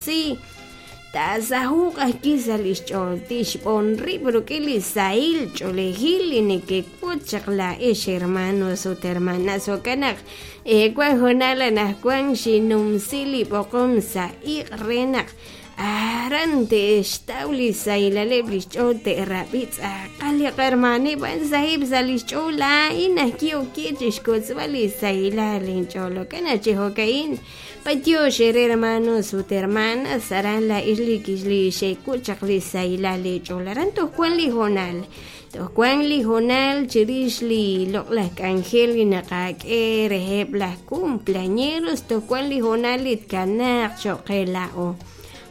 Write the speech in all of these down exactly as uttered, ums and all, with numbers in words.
Taasaho'q ajwi' sa' li xch'ool, tixb'on rib' rik'in li sahil ch'oolejil li nekek'ut chaq laa'ex hermanos ut hermanas. Jo'kan naq wan hoonal anaqwan xinnumsi li b'oqom sa' iq' re naq aran te'xtaw li sahilaleb' li xch'ool, te'rab'i tz'aqal li qahermaneb' a'an saheb' sa' li xch'ool. Laa'in ajwi' ok chi xkotzb'al li sahilal linch'ool. Jo'kan naq chi jo'ka'in b'antiox eere hermanos ut hermanas, aran laa'ex li li xek'ut chaq li sahilal leech'ool. Aran toj wan li hoonal, toj wan li hoonal chirix li loq'laj k'anjel li naqak'e reheb' laj cumpleañeros, toj wan li hoonal li tkanaaq cho'q qe laa'o.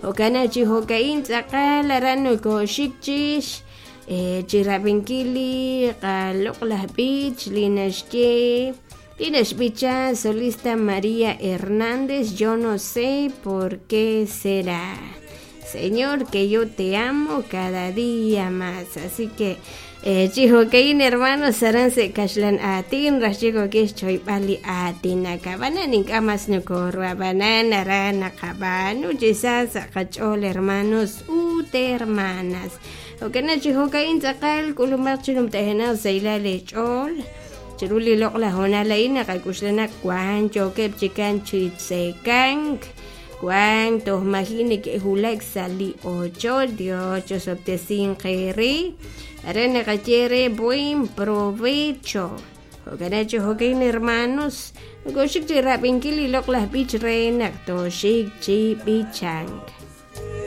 Jo'kan naq chi jo'ka'in tz'aqal aran nokooxik chix chi rab'inkil li qaloq'laj b'ich li naxye li naxb'icha solista María Hernández, yo no sé por qué será. Señor, que yo te amo cada día más. Así que chi jo'ka'in hermanos aran sa' kaxlan aatin raj chik ok xchoyb'al li aatinak, ab'anan ink'a' mas nokoruab'anan aran naqab'aanu chi sa sa' qach'ool hermanos ut hermanas. Jo'kan naq chi jo'ka'in tz'aqal k'ulumaq chi numtajenaq sahilal leech'ool chiru li loq'laj hoonal a'in naqak'uxla naq wan yookeb' chikan chi tzekank, wan toj maji neke'wulak sa' li ochoch. Dios chosob'tesinq eere, aran naqaye re buen provecho. Jo'kan naq chi jo'ka'in hermanos nokooxik chi rab'inkil li loq'laj b'ich re naq tooxik chi b'ichank.